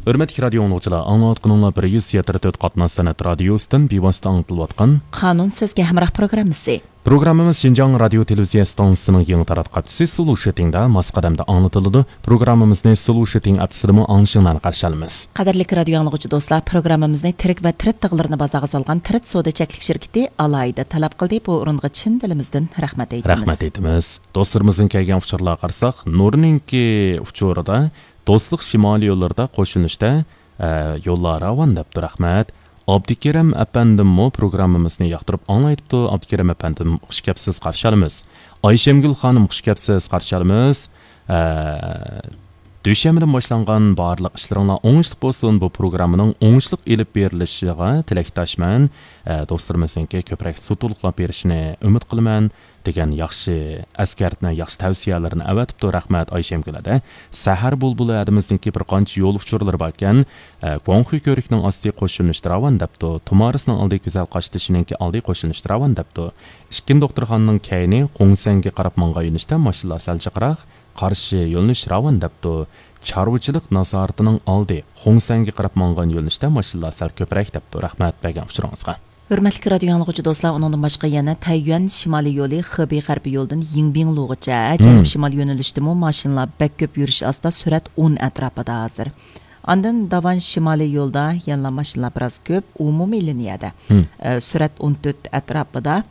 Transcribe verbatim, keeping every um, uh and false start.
ھۆرمەتلىك رادىيو ئاڭلىغۇچىلار، ئاڭلاۋاتقىنىڭلار بىر يۈز يەتتە تۆت قاتناش سەنئەت رادىيوسىدىن بىۋاسىتە ئاڭلىتىلىۋاتقان قانۇن سىزگە ھەمراھ پروگراممىسى. پروگراممىمىز شىنجاڭ رادىيو تېلېۋىزىيە ئىستانسىسىنىڭ يېڭى تاراتقۇچىسى سلۇشىتىڭدا ماس قەدەمدە ئاڭلىتىلىدۇ. پروگراممىمىزنى سلۇشىتىڭ ئەپسىدىمۇ ئاڭلىشىڭلارنى قارشى ئالىمىز. قەدىرلىك رادىيو ئاڭلىغۇچى دوستلار، پروگراممىمىزنى تىرىك ۋە تىرىت تاغلىرىنى بازارغا سالغان تىرىت سودا چەكلىك شىركىتى ئالاھىدە تەلەپ قىلدى. بۇ ئورۇنغا چىن دىلىمىزدىن رەھمەت ئېيتىمىز. رەھمەت ئېيتىمىز. دوستلىرىمىزدىن كەلگەن ئۇچۇرلارغا قارىساق، نۇرنىڭكى ئۇچۇرىدا دوستلۇق شىمالىي يوللىرىدا قوشۇلۇشتا، ئە، يوللار راۋان دەپتۇ، رەھمەت. ئابدۇكېرەم ئەپەندىممۇ پروگراممىمىزنى ياقتۇرۇپ ئاڭلايتتۇ. ئابدۇكېرەم ئەپەندىم، خۇش كەپسىز، قارشى ئالىمىز. ئايشەمگۈل خانىم، خۇش كەپسىز، قارشى ئالىمىز. ئە، دۈشەنبىدىن باشلانغان بارلىق ئىشلىرىڭلار ئوڭۇشلۇق بولسۇن. بۇ پروگراممىنىڭ ئوڭۇشلۇق ئېلىپ بېرىلىشىغا تىلەكداشمەن. ئە، دوستلىرىمىزنىڭكى كۆپرەك سۇ تولۇقلاپ بېرىشىنى ئۈمىد قىلىمەن، دېگەن ياخشى ئەسكەرتمە، ياخشى تەۋسىيەلەرنى ئەۋەتىپتۇ. رەھمەت ئايشەمگۈل ھەدە. سەھەر بۇلبۇلى ھەدىمىزنىڭكى بىر قانچە يول ئۇچۇرلىرى باركەن. ئە، گۇاڭخۇي كۆۋرۈكنىڭ ئاستى قوشۇلۇشتا راۋان دەپتۇ. تۇمارىسنىڭ ئالدى گۈزەل قاشتېشىنىڭكى ئالدى قوشۇلۇشتا راۋان دەپتۇ. ئىككىنچى دوختۇرخانىنىڭ كەينى خۇڭسەنگە قاراپ ماڭغان يۆنىلىشتە ماشىنىلار سەل جىقراق، قارشى يۆنىلىش راۋان دەپتۇ. چارۋىچىلىق نازارىتىنىڭ ئالدى خۇڭسەنگە قاراپ ماڭغان يۆنىلىشتە ماشىنىلار سەل كۆپرەك دەپتۇ. رەھمەت بەرگەن ئۇچۇرىڭىزغا. ھۆرمەتلىك رادىيو ئاڭلىغۇچى دوستلار، ئۇنىڭدىن باشقا يەنە تەييۈەن شىمالىي يولى خېبېي غەربىي يولىدىن يىڭبىڭ لۇغىچە جەنۇب شىمال يۆنىلىشتىمۇ ماشىنىلار بەك كۆپ يۈرۈش ئاستا، سۈرئەت ئون ئەتراپىدا ھازىر. ئاندىن داۋان شىمالىي يولدا يەنىلا ماشىنىلار بىراز كۆپ، ئومۇمىي لىنىيەدە، ئە، سۈرئەت ئون تۆت ئەتراپىدا.